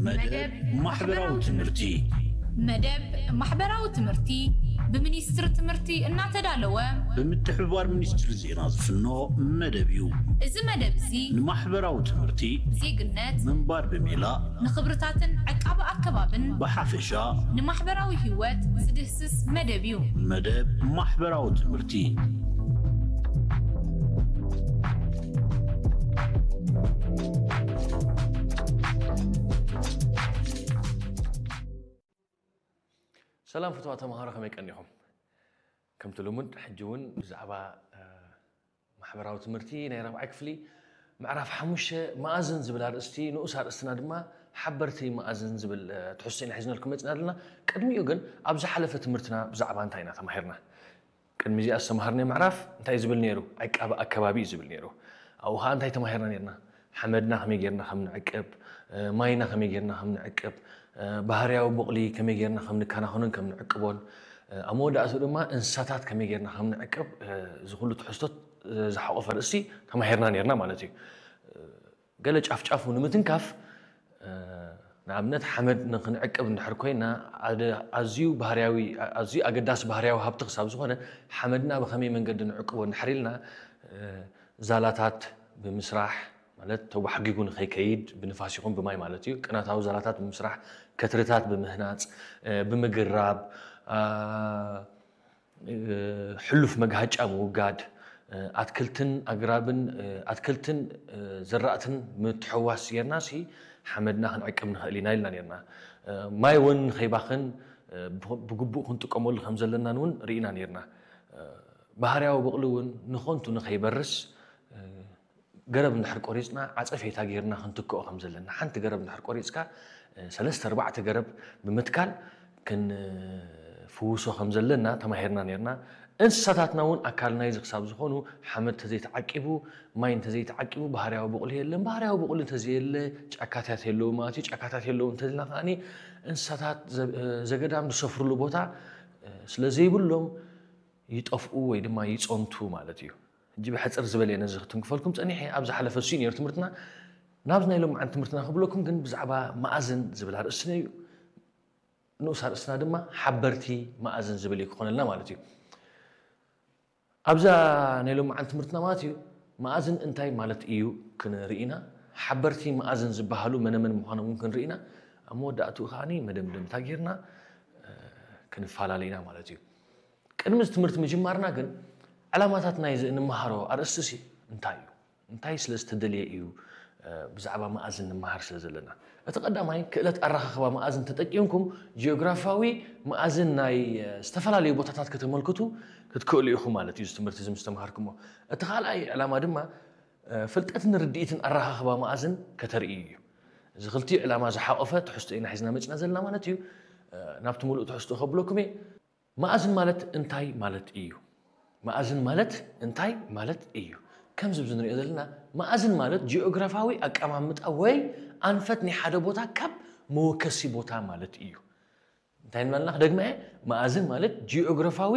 መደብ ማሕበራዊ ትምህርቲ። መደብ ማሕበራዊ ትምህርቲ ብሚኒስትሪ ትምህርቲ እናተዳለወ ብምትሕብባር ሚኒስትሪ ዜና ዝፍኖ መደብ እዩ። እዚ መደብ እዚ ንማሕበራዊ ትምህርቲ፣ ዜግነት፣ ምንባር ብሜላ፣ ንኽብርታትን ዕቃበ ኣከባብን ብሓፈሻ ንማሕበራዊ ህይወት ዝድህስስ መደብ እዩ። መደብ ማሕበራዊ ትምህርቲ። ሰላም ፍትዋ ተምሃሮ፣ ከመይ ቀኒኹም? ከምቲ ልሙድ ሕጂ እውን ብዛዕባ ማሕበራዊ ትምህርቲ ናይ ራብዓይ ክፍሊ ምዕራፍ ሓሙሽተ መኣዝን ዝብል ኣርእስቲ፣ ንኡስ ኣርእስትና ድማ ሓበርቲ መኣዝን ዝብል ትሕዝቶ ኢና ሒዝናልኩም መፅና ኣለና። ቅድሚኡ ግን ኣብ ዝሓለፈ ትምህርትና ብዛዕባ እንታይ ኢና ተማሂርና? ቅድሚ እዚኣ ዝተምሃርናዮ ምዕራፍ እንታይ ዝብል ነይሩ? ዕቃበ ኣከባቢ እዩ ዝብል ነይሩ። ኣብኡ ከዓ እንታይ ተማሂርና ነርና? ሓመድና ከመይ ጌርና ከም ንዕቅብ፣ ማይና ከመይ ጌርና ከም ንዕቅብ፣ ባህርያዊ ቦቕሊ ከመይ ጌርና ከም ንከናኸኖን ከም ንዕቅቦን፣ ኣብ መወዳእቱ ድማ እንስሳታት ከመይ ጌርና ከም ንዕቅብ፣ እዚ ኩሉ ትሕዝቶት ዝሓቆፈ ርእሲ ተማሂርና ነርና ማለት እዩ። ገለ ጫፍጫፉ ንምትንካፍ፣ ንኣብነት ሓመድ ንክንዕቅብ እንድሕር ኮይና፣ ኣዝዩ ባህርያዊ ኣዝዩ ኣገዳሲ ባህርያዊ ሃብቲ ክሳብ ዝኾነ፣ ሓመድና ብኸመይ መንገዲ ንዕቅቦ እንድሕር ኢልና፣ ዛላታት ብምስራሕ፣ ማለት ተጓሕጊጉ ንኸይከይድ ብንፋስ ይኹን ብማይ ማለት እዩ፣ ቅናታዊ ዛላታት ብምስራሕ፣ ከትርታት ብምህናፅ፣ ብምግራብ፣ ሕሉፍ መግሃጫ ምውጋድ፣ ኣትክልትን ኣግራብን ኣትክልትን ዘራእትን ምትሕዋስ ጌርና ሲ ሓመድና ክንዕቅብ ንኽእል ኢና ኢልና ኔርና። ማይ እውን ንኸይባኽን ብግቡእ ክንጥቀመሉ ከም ዘለናን እውን ርኢና ኔርና። ባህርያዊ በቕሊ እውን ንኾንቱ ንኸይበርስ ገረብ እንድሕር ቆሪፅና ዓፀፌታ ጌርና ክንትክኦ ከም ዘለና፣ ሓንቲ ገረብ እንድሕር ቆሪፅካ ሰለስተ ኣርባዕተ ገረብ ብምትካል ክንፍውሶ ከም ዘለና ተማሂርና ኔርና። እንስሳታትና እውን ኣካል ናይዚ ክሳብ ዝኾኑ ሓመድ ተዘይተዓቂቡ፣ ማይ እንተዘይተዓቂቡ ባህርያዊ በቕሊ የለን። ባህርያዊ በቕሊ እንተዘየለ ጫካታት የለዉ ማለት እዩ። ጫካታት የለዉ እንተልና ከዓኒ እንስሳታት ዘገዳም ዝሰፍርሉ ቦታ ስለ ዘይብሎም ይጠፍኡ ወይ ድማ ይፀንቱ ማለት እዩ። ሕጂ ብሕፅር ዝበለ ነዚ ክትንክፈልኩም ፀኒሐ። ኣብ ዝሓለፈ እሱ ነይሩ ትምህርትና። ናብዚ ናይ ሎምዓንቲ ትምህርትና ክብለኩም ግን ብዛዕባ መኣዝን ዝብል ኣርእስትና እዩ። ንኡስ ኣርእስትና ድማ ሓበርቲ መኣዝን ዝብል እዩ ክኾነልና ማለት እዩ። ኣብዛ ናይ ሎምዓንቲ ትምህርትና ማለት እዩ መኣዝን እንታይ ማለት እዩ ክንርኢ ኢና። ሓበርቲ መኣዝን ዝበሃሉ መነመን ምዃኖም እውን ክንርኢ ኢና። ኣብ መወዳእትኡ ከዓኒ መደምደምታ ጌርና ክንፈላለ ኢና ማለት እዩ። ቅድሚ እዚ ትምህርቲ ምጅማርና ግን ዕላማታት ናይዚ እንመሃሮ ኣርእስቲ ሲ እንታይ እዩ? እንታይ ስለ ዝተደልየ እዩ ብዛዕባ መኣዝን ንመሃር ስለ ዘለና? እቲ ቀዳማይ ክእለት ኣረኻኽባ መኣዝን ተጠቂምኩም ጂኦግራፋዊ መኣዝን ናይ ዝተፈላለዩ ቦታታት ከተመልክቱ ክትክእሉ ኢኹም ማለት እዩ። እዚ ትምህርቲ እዚ ምስ ተምሃርኩሞ፣ እቲ ካልኣይ ዕላማ ድማ ፍልጠትን ርድኢትን ኣረኻኽባ መኣዝን ከተርእዩ እዩ። እዚ ክልቲኡ ዕላማ ዝሓቆፈ ትሕዝቶ ኢና ሒዝና መፅና ዘለና ማለት እዩ። ናብቲ ሙሉእ ትሕዝቶ ከብለኩም እየ። መኣዝን ማለት እንታይ ማለት እዩ? መኣዝን ማለት እንታይ ማለት እዩ? ከምዚ ብዚ ንሪኦ ዘለና መኣዝን ማለት ጂኦግራፋዊ ኣቀማምጣ ወይ ኣንፈት ናይ ሓደ ቦታ ካብ መወከሲ ቦታ ማለት እዩ። እንታይ ንበልና ክደግመ እየ? መኣዝን ማለት ጂኦግራፋዊ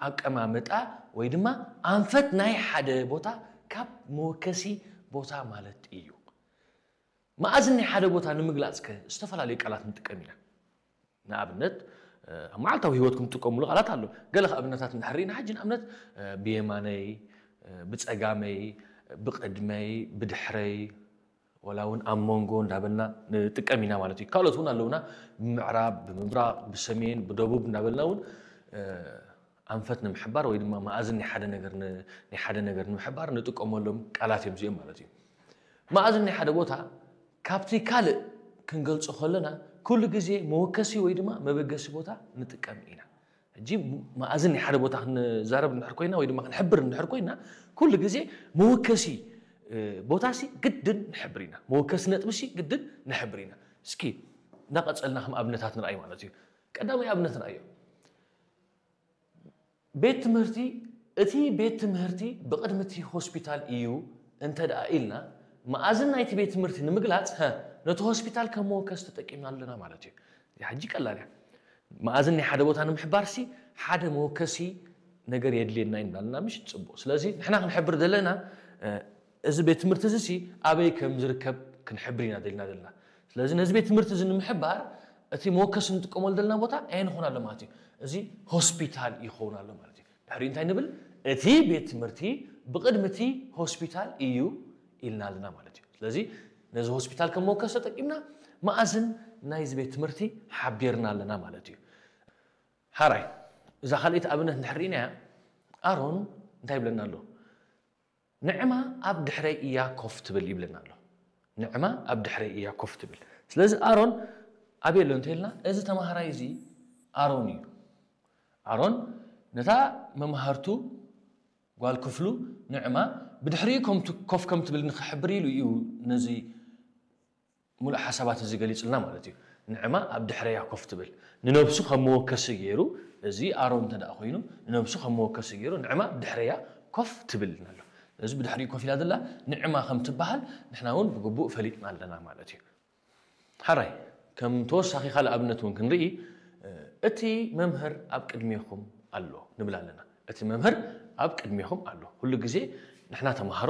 ኣቀማምጣ ወይ ድማ ኣንፈት ናይ ሓደ ቦታ ካብ መወከሲ ቦታ ማለት እዩ። መኣዝን ናይ ሓደ ቦታ ንምግላፅ ከ ዝተፈላለዩ ቃላት ንጥቀም ኢና። ንኣብነት ኣብ መዓልታዊ ህይወትኩም ትጥቀምሉ ቃላት ኣሎ። ገለ ኣብነታት እንድሕር ኢና ሕጂ ንኣብነት ብየማነይ፣ ብፀጋመይ፣ ብቕድመይ፣ ብድሕረይ፣ ወላ እውን ኣብ መንጎ እንዳበልና ንጥቀም ኢና ማለት እዩ። ካልኦት እውን ኣለውና፣ ብምዕራብ፣ ብምብራቕ፣ ብሰሜን፣ ብደቡብ እንዳበልና እውን ኣንፈት ንምሕባር ወይ ድማ መኣዝን ናይ ሓደ ነገር ን- ናይ ሓደ ነገር ንምሕባር ንጥቀመሎም ቃላት እዮም እዚኦም ማለት እዩ። መኣዝን ናይ ሓደ ቦታ ካብቲ ካልእ ክንገልጾ ከለና ኩሉ ግዜ መወከሲ ወይ ድማ መበገሲ ቦታ ንጥቀም ኢና። ሕጂ መኣዝን ናይ ሓደ ቦታ ክንዛረብ እንድሕር ኮይና ወይ ድማ ክንሕብር እንድሕር ኮይና ኩሉ ግዜ መወከሲ ቦታ ሲ ግድን ንሕብር ኢና። መወከሲ ነጥቢ ሲ ግድን ንሕብር ኢና። እስኪ እናቐጸልና ከም ኣብነታት ንርኣይ ማለት እዩ። ቀዳማይ ኣብነት ንርኣዮ። ቤት ትምህርቲ፣ እቲ ቤት ትምህርቲ ብቕድሚ እቲ ሆስፒታል እዩ እንተ ደኣ ኢልና፣ መኣዝን ናይቲ ቤት ትምህርቲ ንምግላጽ፣ ሀ፣ ነቲ ሆስፒታል ከም መወከሲ ተጠቂምና ኣለና ማለት እዩ። እዚኣ ሕጂ ቀላል እያ። መኣዝን ናይ ሓደ ቦታ ንምሕባር ሲ ሓደ መወከሲ ነገር የድልየና እዩ እንዳልና፣ ምሽ? ጽቡቕ። ስለዚ ንሕና ክንሕብር ዘለና፣ እ፣ እዚ ቤት ትምህርቲ እዚ ሲ ኣበይ ከም ዝርከብ ክንሕብር ኢና ደልና ዘለና። ስለዚ ነዚ ቤት ትምህርቲ እዚ ንምሕባር እቲ መወከሲ ንጥቀመሉ ዘለና ቦታ ኣየን ይኾን ኣሎ ማለት እዩ? እዚ ሆስፒታል ይኸውን ኣሎ ማለት እዩ። ድሕሪ እንታይ ንብል? እቲ ቤት ትምህርቲ ብቕድሚ እቲ ሆስፒታል እዩ ኢልና ኣለና ማለት እዩ። ስለዚ ነዚ ሆስፒታል ከም መወከሲ ተጠቂምና መኣዝን ናይዚ ቤት ትምህርቲ ሓቢርና ኣለና ማለት እዩ። ሓራይ፣ እዛ ካልኣይቲ ኣብነት እንድሕር ርኢናያ፣ ኣሮን እንታይ ይብለና ኣሎ? ንዕማ ኣብ ድሕረይ እያ ኮፍ ትብል ይብለና ኣሎ። ንዕማ ኣብ ድሕረይ እያ ኮፍ ትብል። ስለዚ ኣሮን ኣበይ ኣሎ እንተይልና፣ እዚ ተማሃራይ እዚ ኣሮን እዩ። ኣሮን ነታ መማህርቱ ጓል ክፍሉ ንዕማ ብድሕሪኡ ኮፍ ከም ትብል ንክሕብር ኢሉ እዩ ነዚ ሙሉእ ሓሳባት እዚ ገሊጹልና ማለት እዩ። ንዕማ ኣብ ድሕረያ ኮፍ ትብል። ንነብሱ ከም መወከሲ ገይሩ፣ እዚ ኣሮን እንተ ደኣ ኮይኑ፣ ንነብሱ ከም መወከሲ ገይሩ ንዕማ ኣብ ድሕረያ ኮፍ ትብል ኢልና ኣሎ። እዚ ብድሕሪኡ ኮፍ ኢላ ዘላ ንዕማ ከም ትበሃል ንሕና እውን ብግቡእ ፈሊጥና ኣለና ማለት እዩ። ሓራይ፣ ከም ተወሳኺ ካልእ ኣብነት እውን ክንርኢ፣ እቲ መምህር ኣብ ቅድሜኹም ኣሎ ንብል ኣለና። እቲ መምህር ኣብ ቅድሜኹም ኣሎ። ኩሉ ግዜ ንሕና ተምሃሮ